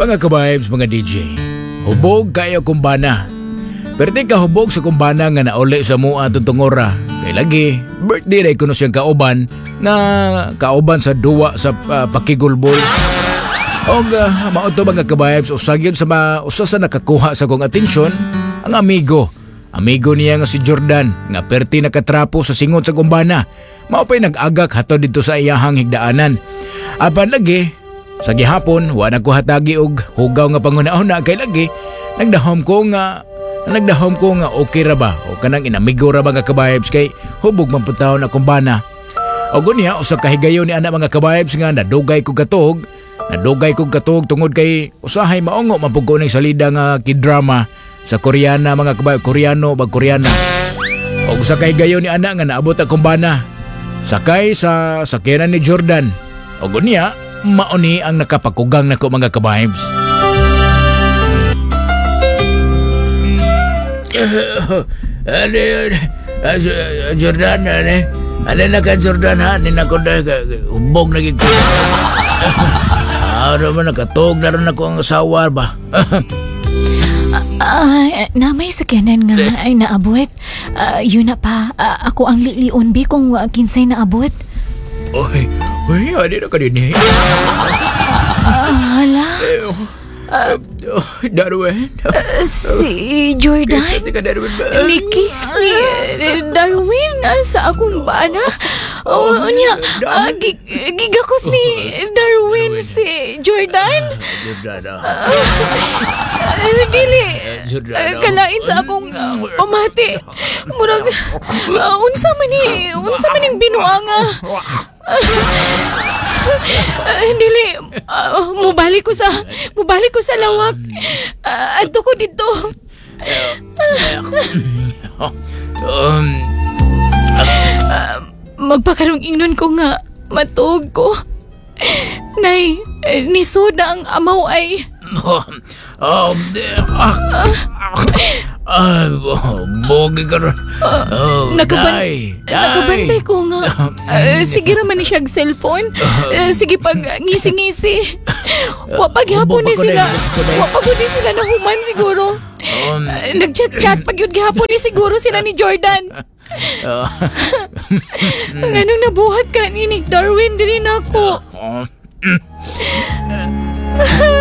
Mga ka-vibes, mga DJ, hubog kayo akong bana. Perti ka hubog sa akong bana nga nauli sa mua atong tungora. Kay lagi, birthday ray kuno siyang kauban nga kauban sa duwa sa pakigulbol. Og mao to, mga ka-vibes, usa gyud sa usa sa nakakuha sa akong atensyon ang amigo. Amigo niya nga si Jordan nga perti nakatrapo sa singot sa akong bana. Mao pa'y nag-agak hatod dito sa iyahang higdaanan. Apan lagi, sa gihapon, wa na ko hatagi og hugaw nga panghuna-huna kay lagi nagdahom ko nga okay ra ba o kanang inamigo ra ba nga ka-vibes kay hubog man pud taon akong bana. Og unya usa ka higayon ni ana, mga ka-vibes, nga nadugay kog katuog tungod kay usahay maungo man pud ko ning salida nga K-drama sa Koreana, mga ka-vibes, Koreano ba, Koreana. Og usa ka higayon ni ana nga naabot akong bana sakay sa sakyanan ni Jordan. Og unya mao ni ang nakapakugang nako, mga ka-vibes. Ano yun? Jordan, ano? Ano na ka, Jordan, ha? Ano na ko na, hubog na gid ko. Ano man, nakatog na rin ako ang asawa ba? Ah, na may sakyanan nga ay naabot. Ah, yun na pa. Ah, ako ang lilion bi kung kinsay naabot. Oy, oy, ano na ka din eh? Ah, hala, Oh, Darwin. Si Jordan. Kiss ka, Darwin ba? Ni-kiss ni Darwin sa akong bana. Oh, unya, gigakos ni Darwin si Jordan. Jordan, ah. Dili. Jordan, Kalain sa akong pamati. Murag, unsa man ning binuanga. Dili, mubalik ko sa lawak. Adto ko dito. Magpakarong ingnon ko nga matuog ko. Nay, nisod na ang amaw ay. Oh, ah, ah, bogi ka ron. Oh, day, day. Nakabantay ko nga. Sige raman ni siyang cellphone. Sige pag ngisi-ngisi. Wa pa gihapon ni Hubog pa ko sila. day, hubog ko day. Wa pa gud ni sila nahuman siguro. Nag-chat-chat pag yun gihapon ni siguro sila ni Jordan. Ang anong nabuhat ka ni Darwin diri nako.